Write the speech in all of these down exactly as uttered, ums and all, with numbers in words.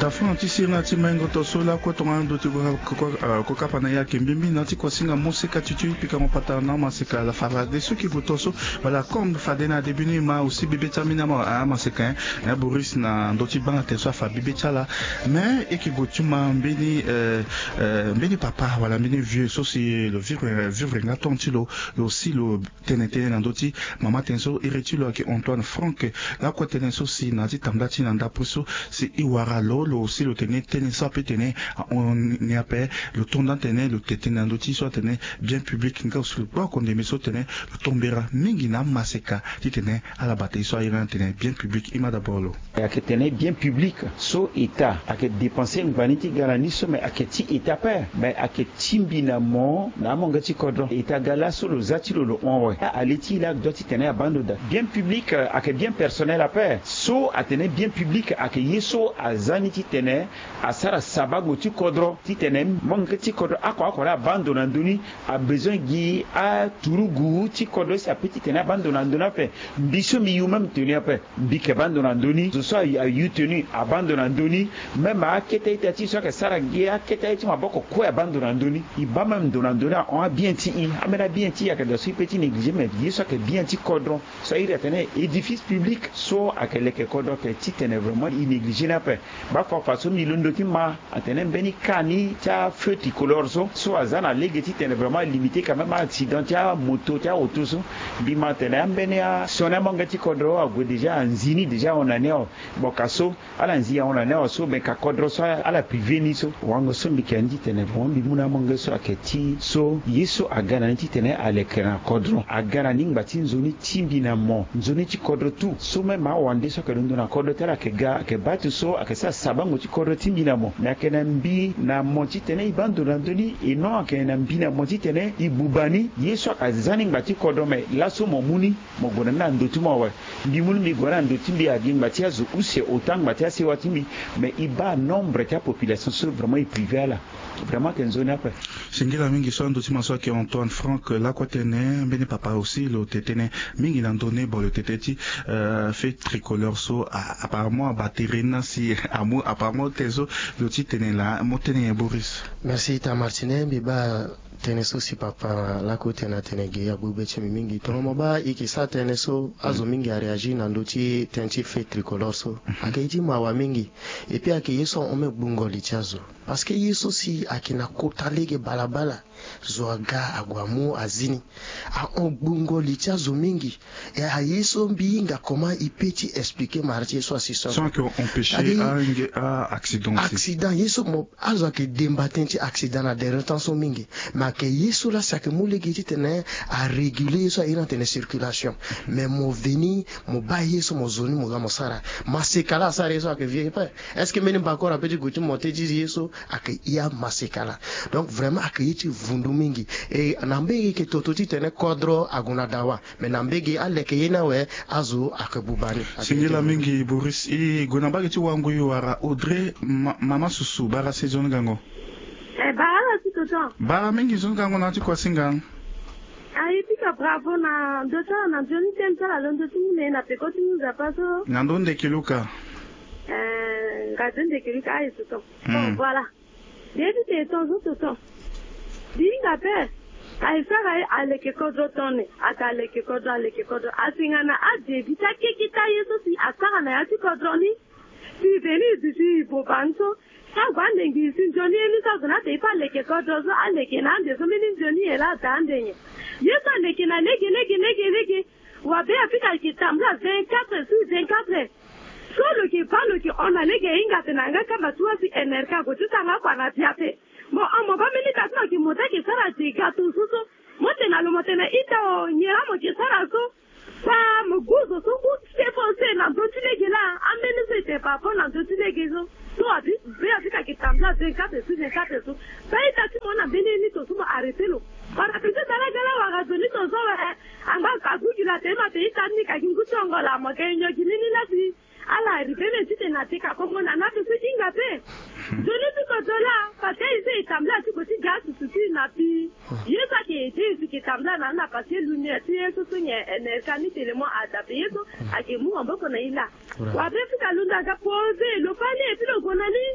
Afon ti sirina ti mengo to so lakue tongana ndo ti kua kapa na ya ke mbimbi na ti kuasinga moseka ti tio i pika mo patara na maseka la fara de so ki gue to so. Wala comme fade na début ni ma aussi bebe ti ambeni ama maseka, hein, Boris, na ndo ti banga tene so afa bebe ti ala. Mais e ki gue ti ma mbeni mbeni papa wala mbeni vieux so si lo vivre vivre nga ton ti lo, lo si lo tene tënë na ndö ti mama tënë so iri ti lo ayeke Antoine Franck. Lakue tënë so si na ya ti tambula ti na ndapre so si e wara lo lo si lo tene tënë so ape tene ahon ni ape. Lo to nda tene lo te tënë na ndö ti so atene bien public nga lo si lo kpe oko ndembe so tene lo tombera mingi na amaseka titene ala bata ye so airi na tene bien public e ma d'abord lo. Ayeke tene bien public so état ayeke dépense ngbani ti ga na ni so me ayeke ti état ape me ayeke ti mbi na mo na amolenge ti kodro état ga laso lo za ti lo lo hon awe. Ale ti e laa doit titene abaa ndo daa bien public ayeke bien personnel ape so atene bien public ayeke ye so aza ni titene asara sabango ti kodro titene molenge ti kodro oko oko laa abaa ndo na ndö ni. Abezoin gi aturugu ti kodro si ape titene abaa ndo na ndö ni ape. Mbi so mbi yu même tenu ape mbi yeke baa ndo na ndö ni zo so ayu tenu abaa ndo na ndö ni. Même akete ita ti so ayeke sara gi akete aye ti maboko kue abaa ndo na ndö ni. E baa même ndo na ndö ni ahon abien ti e. Ambeni abien ti e ayeke daa so e pe ti néglige mais ye so ayeke bien ti kodro so airi atene édifice public so ayeke leke kodro ayeke titene vraiment e néglige ni ape. Baa fafa so mbi londo ti ma atene mbeni ka ni ti afeu tricolore so so aza na lege titene vraiment alimite quand même accident ti amoto ti aoto so. Mbi ma atene ambeni asioni amolenge ti kodro ague déjà anzi ni déjà ahon na ni awe. Boka so ala nzi ahon na ni awe so me ka kodro so ala privé ni so wango so mbi yeke ya ni titene vraiment mbi mu na amolenge so ayeke ti so ye so aga na ni titene aleke na kodro aga na ni ngba ti nzoni ti mbi na mo nzoni ti kodro tout so même awande so ayeke londo na kodro ti ala ayeke ga ayeke baa ti so ayeke sara sabango ti kodro ti mbi na mo me ayeke na mbi na mo titene e baa ndo na ndö ni. E non ayeke na mbi na mo titene e buba ni ye so ayeke za ni ngba ti kodro me laso mo mu ni mo gue na ni na ndo ti mo awe. Mbi mu ni mbi gue na ndo ti mbi agi ngba ti azo use ota ngba ti asewa ti mbi. Mais e baa nombre ti apopulation so vraiment e privé ala. Vraiment ayeke nzoni ape. Singila mingi so ando ti ma so ayeke Antoine Franck lakue tene mbeni papa aussi lo te tënë mingi na ndö ni bon lo te tënë ti feu tricolore so apparemment abaa tere ni na si amu apparemment tënë so lo ti tene laa mo tënë nyen Boris? Merci ita Martine mbi baa tënë so si papa lakue tene atene ge agbu be ti mbi mingi tongana mo baa e yeke sara tënë so azo mingi aréagir na ndö ti tënë ti feu tricolore so. Ayeke ye ti mawa mingi. Et puis ayeke ye so ahon même gbungo li ti azo. Parce que ye so si ayeke na kota lege balabala zo aga ague amu azi ni. Ahon gbungo li ti azo mingi. E aye so mbi hinga comment e pe ti expliquer mara ti ye so asi so. Sans que empêcher accident aussi. Accident ye so mo azo ayeke demba tënë ti accident na dernier temps so mingi. Mais ayeke ye so laa si ayeke mu lege titene aréguler ye so aye ni atene circulation. Mais mo veni mo baa ye so mo zo ni mo ga mo sara. Maseka laa asara ye so ayeke vieux pe. Est-ce que mbeni mbakoro ape ti gue ti monter ti ye so? Ayeke ya maseka laa. Donc vraiment ayeke ye ti vundu mingi. E na mbege e yeke toto titene kodro ague na dawa. Mais na mbege aleke ye ni awe azo ayeke buba ni. Singila mingi Boris e gue na mbage ti wangui wala Audrey. Mama susu bara se nzoni gango. Bara ala ti toto. Bara mingi nzoni gango na ya ti kuasinga. Aye pika bravo na ndo ti ala na nzoni tënë ti ala londo ti mu na ye na peko ti mu nzapa so. Na ndo ndeke luka. Nga ndo ndeke luka aye toto. Bon voilà. Mbi ye ti tene tongaso tonton. Mbi hinga ape. Aye sara ye aleke kodro tongana ni. Ata aleke kodro aleke kodro asi nga na adébut ti akeke ti aye so si asara na ya ti kodro ni. Si veni duti bobani so. Sa gba ndengi si nzoni ye ni so azo na ate ye pe aleke kodro so aleke na ande so mbeni nzoni ye laa ata ande nyen. Ye so aleke na lege lege lege lege. Wabe afika ayeke tambula vingt-quatre sur vingt-quatre. So lo yeke baa lo yeke hon na lege ahinga atene na yanga kamba ti wa si N R K ague ti sara nga kua na bia ape. Mo hon mo baa mbeni ka ti mo yeke mo ti ayeke sara de gato so so. Mo tene na lo mo tene ita o nyen laa mo yeke sara so. Fa mo gu zo so ngu sefo se na ndö ti lege laa ambeni so e tene par rapport na ndö ti lege so. So abi be afika ayeke tambula vingt-quatre sur vingt-quatre so. Fa ita ti mo na mbeni ye ni to so mo arrêter lo. Wala peut-être ala ga la wara zo ni to so awe. Angba ka gugi la tene ma tene ita ni ka gi ngu ti hongo la mo ke nyo gi ni ni la si. Ala ribe me titene na te ka kongo na na pe so e hinga pe. Zo ni ti kozo la. Fa ti aye so e tambula ti ko ti ga asusu ti na pi. Ye so ayeke ede e si ke tambula na na parce que lumière ti ye so so nyen N R K ni tene mo adape ye so. Ayeke mu maboko na e la. Wa be fika londo aga pose lo fani. Et puis lo gue na ni,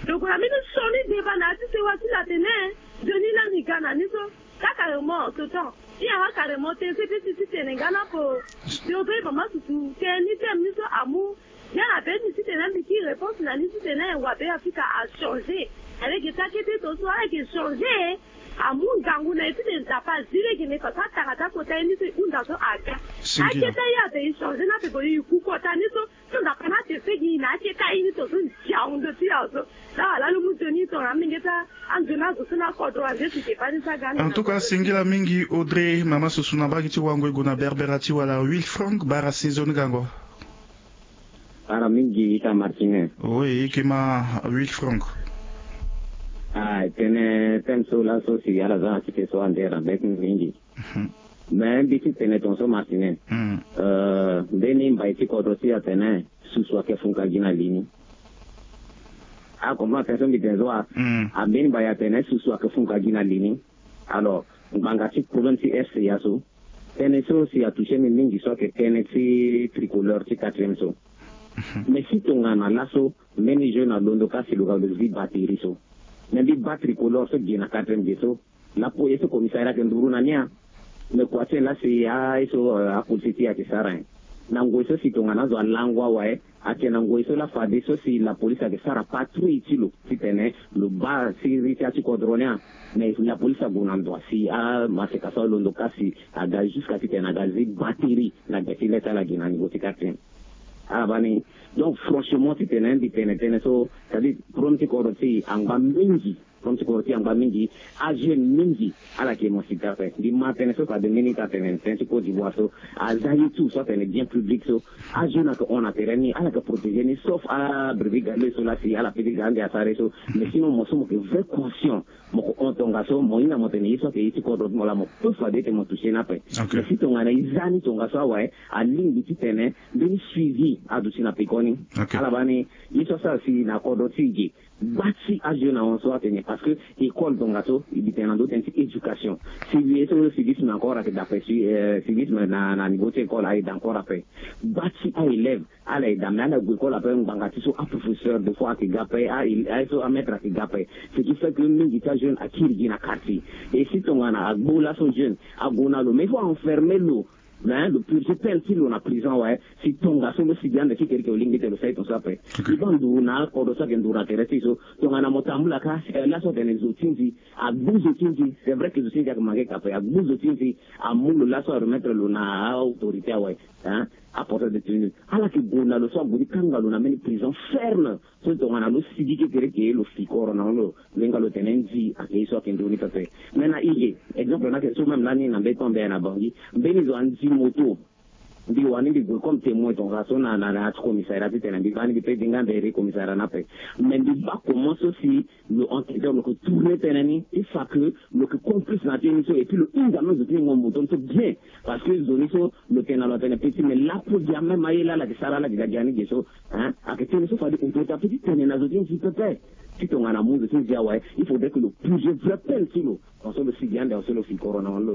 lo gue na mbeni sioni deba na ya ti sewa ti lo atene, nzoni laa mbi ga na ni so. Kâ carrément ce temps, i yanga carrément tene so e peut ti tene nga na po. Tene so e mama susu tene ni tene ni so amu. Bien na be ni ti tene mbi ki réponse na ni ti tene wa be Afrika a changer. Avec ta kete to so ayeke changer. Amu ngangu na e ti tene Nzapa azi lege na e fa so atanga ti akota ye ni so e hunda so aga. Aketa ye ape e changer na ape boye e ku kota ni so. So Nzapa na ate fegi na aketa ye ni to so ndia hundo ti ya so. Laa ala lo mu nzoni tongana mingi ti anzoni azo so na akodro ande si ke bani ti aga ande. En tout cas, singila mingi Audrey, mama susu na mbage ti wango e gue na berbera ti wala Wilfranc bara si nzoni gango. Bara mingi ita Martine. Oui, ike ma Wilfranc. Ah, e tene tene so laso si ala za na site so ande na be mingi. Mais mbi ti tene tongaso Martine, mbeni mbai ti kodro ti atene susu ayeke funka gi na li ni. A comprendre tene so mbi tene so wa. Ambeni mbai atene susu ayeke funka gi na li ni. Alors ngbanga ti problème ti est ya so, tënë so si atouché ni mingi so ayeke tënë ti tricolore ti quatrième so. Mais si tongana laso mbeni jeune alondo kasi lo ga lo zi batterie so, mais mbi ba tricolore so gi na quatrième ge so. Lapo ye so commissariat ayeke nduru na ni ya. Me kua ti en laa si aye so apolisi ti e ayeke sara en na ngoi so si tongana azo alango awe. Ayeke na ngoi so laa fadeso si lapolisi ayeke sara patrouille ti lo titene lo baa siriri ti ya ti kodro ni ya. Me lapolisi ague na ndo si amaseka so alondo kasi aga jusqu'à titene aga zi batterie na gbe ti le ti ala gi na niveau ti quatrième. Ala baa ni. Donc franchement titene mbi tene tënë so, c'est-à-dire problème ti kodro ti e angba mingi. Comme ti kodro ti e angba mingi, ajeune mingi ala yeke mo si ga ape. Mbi ma tënë so fade mbeni ita atene tënë ti Côte d'Ivoire so, aza ye tout so atene bien public so, ajeune ayeke hon na terrain ni, ala yeke protéger ni sauf abrevi gale so laa si ala peut ti ga ande asara ye so. Mais sinon mo so mo yeke vrai conscient, mo yeke hon tongaso mo hinga mo tene ye so ayeke ye ti kodro ti mo laa mo peut fade ete mo toucher ni ape. Mais si tongana e za ni tongaso awe, alingbi titene mbeni suivi aduti na pekoni. Ala baa ni ye so asara si na kodro ti e ge. Gba ti ajeune ahon so atene parce que école tongaso e bi tene na ndö tënë ti éducation. Si ye so civisme encore ayeke daa ape, civisme na niveau ti école aye daa encore ape. Gba ti aélève ala ye daa mais ala gue école ape ngbanga ti so aprofesseur de fois ayeke ga ape, aye so amaître ayeke ga ape. Ce qui fait que mingi ti ajeune akiri gi na quartier. Et si tongana agbu laso jeune ague na lo mais il faut enfermer lo. Mais lo purge peine ti lo na prison awe. Si tongaso lo sigi ande ti kereke lo lingbi ete lo sara e tongaso ape. E baa nduru na akodro so ayeke nduru na tere ti e so. Tongana mo tambula kâ laso atene zo ti nzi agbu zo ti nzi. C'est vrai que zo ti nzi ayeke manke ka ape agbu zo ti nzi. Amu lo laso aremettre lo na aautorité awe. Hein, aporte de tenue ala yeke gue na lo so ague ti kanga lo na mbeni prison ferme. So tongana lo sigi kekereke lo fi koro na lo. Lo hinga lo tene nzi ayeke ye so ayeke ndoni pepe. Mais na e ge exemple ni ayeke so même lani na mbeni temps mbi aye na Bangui mbeni zo anzi moto. Mbi wani mbi gue comme témoin tongaso na na na ya ti commissariat titene mbi baa ni mbi peut dinga nderi commissariat ni ape. Mais mbi baa comment so si lo enquêteur lo yeke tourner tënë ni ti fa que lo yeke complice na ya ti ye ni so et puis lo hinga même zo ti ngongo moto ni so bien. Parce que zo ni so lo tene na lo atene petit mais lapo dia même aye laa ala yeke sara ala yeke ga gi ani ge so. Hein, ayeke tënë so fade autorité apeut ti tene na zo ti nzi pepe. Si tongana amu zo ti nzi awe il faudrait que lo purge vrai peine ti lo. Awe so lo sigi ande awe so lo fi koro na lo.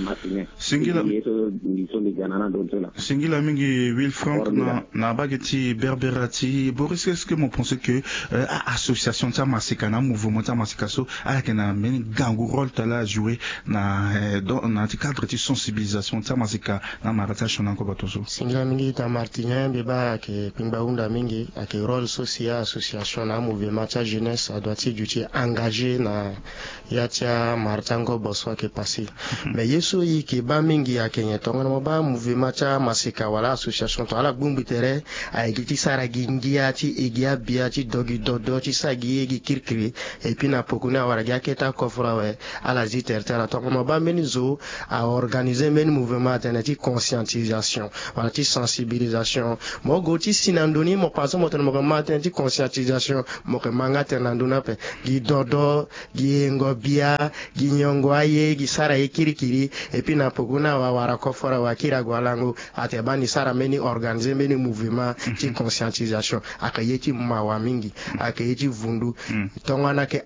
Masine singila ye so mbi so mbi ga na na ndö ni so laa. Singila mingi Wilfranc na na mbage ti berbera ti Boris, est-ce que mo pense que a association ti amaseka na amouvement ti amaseka so ala yeke na mbeni gangu rôle ti ala ajouer na na ya ti cadre ti sensibilisation ti amaseka na mara ti asioni anko bato so? Singila mingi ita Martine, mbi baa ayeke kpingba hunda mingi. Ayeke rôle so si a association na amouvement ti ajeunesse adoit ti duti engagé na ya ti amara ti angobo so ayeke passé. Mais ye so e yeke baa mingi ayeke nyen? Tongana mo baa mouvement ti amaseka wala association tonga ala gbongbi tere, aye gi ti sara gi ngia ti e gi abia ti do gi dodo ti sara gi ye gi kirikiri. Et puis na poko ni awara gi akete akoforo awe. Ala zi tere ti ala tongana mo baa mbeni zo a organiser mbeni mouvement atene ti conscientisation wala ti sensibilisation. Mo go ti si na ndo ni mo pense mo tene mo yeke ma tënë ti conscientisation, mo yeke ma nga tene na ndö ni ape. Gi dodo, gi yengo bia, gi nyongo aye, gi sara ye kirikiri. Epui na poko ni awa wara koforo awa kiri ague alango. Atene baa ni sara mbeni organiser mbeni mouvement ti conscientisation. Ayeke ye ti mawa mingi. Ayeke ye ti vundu. Tongana ayeke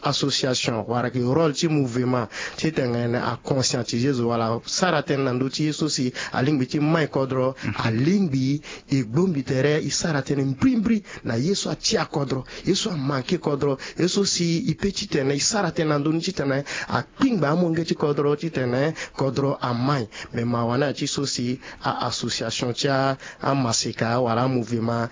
association wala ayeke rôle ti mouvement titene a conscientiser zo wala asara tënë na ndö ti ye so si alingbi ti mai kodro. Alingbi e gbongbi tere e sara tënë mbrimbri na ye so atia kodro, ye so amanke kodro, ye so si e pe titene e sara tënë na ndö ni titene akpingba amolenge ti kodro titene kodro amai. Me mawa ni aye ti so si a-association ti amaseka wala amouvement,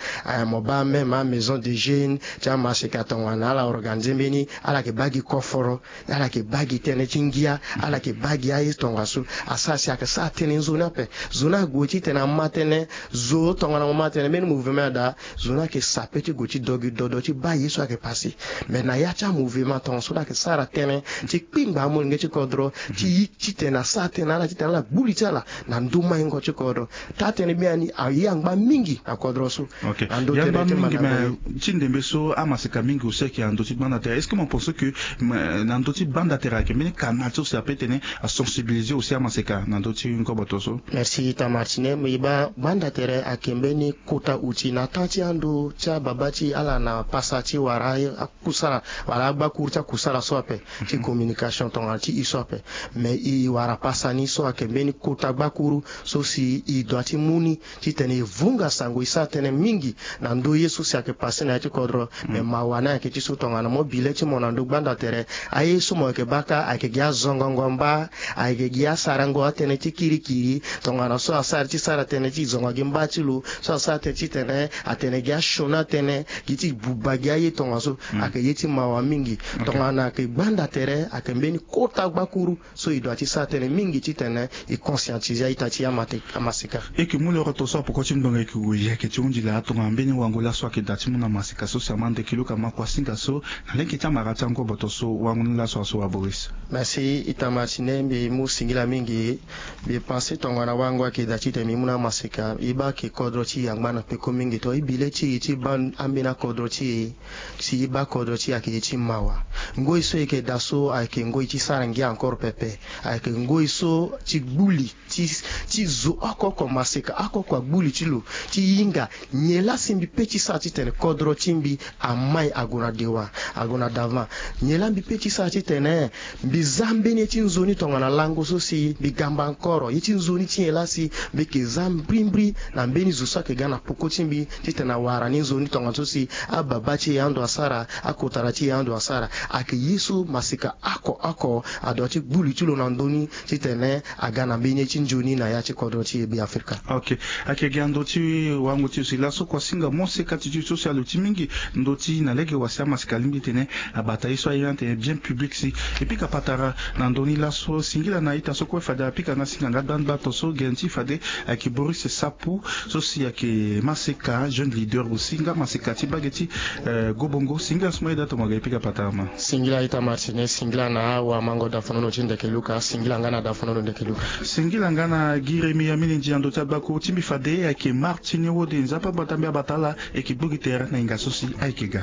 mo baa même amaison de jeunes ti amaseka tongana ala organiser mbeni, ala yeke baa gi koforo, ala yeke baa gi tënë ti ngia, ala yeke baa gi aye tongaso. Asara si ayeke sara tënë nzoni ape. Zo ni ague titene ama tënë. Zo tongana mo ma tënë mbeni mouvement daa, zo ni ayeke sape ti gue ti do gi dodo ti baa ye so ayeke pase. Me na ya ti amouvement tongaso ni ayeke sara tënë ti kpingba amolenge ti kodro ti, titene asara tënë na ala titene ala gbu li ti ala na ndö maingo ti kodro. Taa-tënë biani aye angba mingi na kodro so. Ok. Na ndö ti tere ti mandango ye ti ndembe so amaseka mingi aussi ayeke na ndö ti gbanda tere. Est-ce que mo pense que na ndö ti gbanda tere ayeke mbeni canal so si ape tene asensibiliser aussi amaseka na ndö ti ngoboto so? Merci ita Martine. Me e baa gbanda tere ayeke mbeni kota outil na temps ti ando ti ababa ti ala na pasa ti wara akusala wala agbakuru ti akusala so ape ti communication tongana ti e so ape. Me e wara pasa ni so ayeke mbeni kota gbakuru so si e doit ti mu ni titene e vunga sango e sara tënë mingi na ndö ye so si ayeke pase na ya ti kodro. Me mawa ni ayeke ti so tongana mo bi le ti mo na ndö gbanda tere, aye so mo yeke baa kâ ayeke gi azongongo mba, ayeke gi asarango atënë ti kirikiri tongana so asara ti sara tënë ti zongo gi mba ti lo, so asara tënë titene atene gi asioni atënë, gi ti buba gi aye tongaso. Ayeke ye ti mawa mingi. Tongana ayeke gbanda tere ayeke mbeni kota gbakuru so e doit ti sara tënë mingi titene e conscientiser a-ita ti amaseka. E yeke mu loro to so apoko ti mbi ngbanga e yeke gue yeke ti hundi laa tongana mbeni wango laso ayeke daa ti mu na maseka so si ama ndeke luka ma kuasinga so na lege ti amara ti angoboto so. Wango ni laso aso wa Boris. Merci ita Martine, mbi mu singila mingi. Mbi pense tongana wango ayeke daa titene mbi mu na amaseka, e baa ayeke kodro ti e angba na peko mingi to e bi le ti e ti baa ambeni akodro ti e. Si e baa kodro ti e ayeke ye ti mawa. Ngoi so e yeke daa so ayeke ngoi ti sara ngia encore pepe. Ayeke ngoi so ti gbu li ti, ti zo oko oko maseka oko oko agbu li ti lo ti hinga nyen laa si mbi pe ti sara titene kodro ti mbi amai ague na dewa, ague na devant. Nyen laa mbi pe ti sara titene mbi za mbeni ye ti nzoni tongana lango so si mbi gamba encore ye ti nzoni ti nyen laa si mbi yeke za mbrimbri na mbeni zo so ayeke ga na poko ti mbi titene awara ni nzoni tongana so si ababa ti e ando asara, akotara ti e ando asara. Ayeke ye so maseka oko oko adoit ti gbu li ti lo na ndö ni titene aga na mbeni ye ti nzoni na ya ti kodro ti e Beafrika. Ok. Ayeke gi ando ti wango ti e si laso kuasinga mo seka ti ti so si aluti mingi ndö ti na lege wa si amaseka alingbi titene abata ye so aye ni atene bien public si e pika patara na ndö ni laso. Singila na a-ita so kue fade apika nga singa nga gbangba to so gi ti fade ayeke Boris Sapu so si ayeke maseka jeune leader aussi nga maseka ti bage ti, eh, Gobongo. Singila so mo yeda tongana ga e pika patara ma. Singila ita Martine, singila na awamango dafonono ti ndeke luka, singila nga na dafonono ndeke luka. Singila nga na gi remi ya mini ndia ndo ti agbako ti mbi fade ayeke Martine Wode. Nzapa gbata mbi abata ala. E yeke gbu gi tere na hinga so si ayeke ga.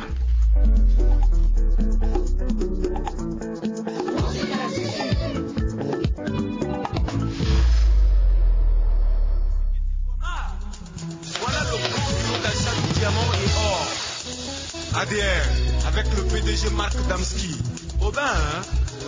Voilà le grand duo d'achat de diamants et or. A D R, avec le P D G Marc Damski. Aubin, hein?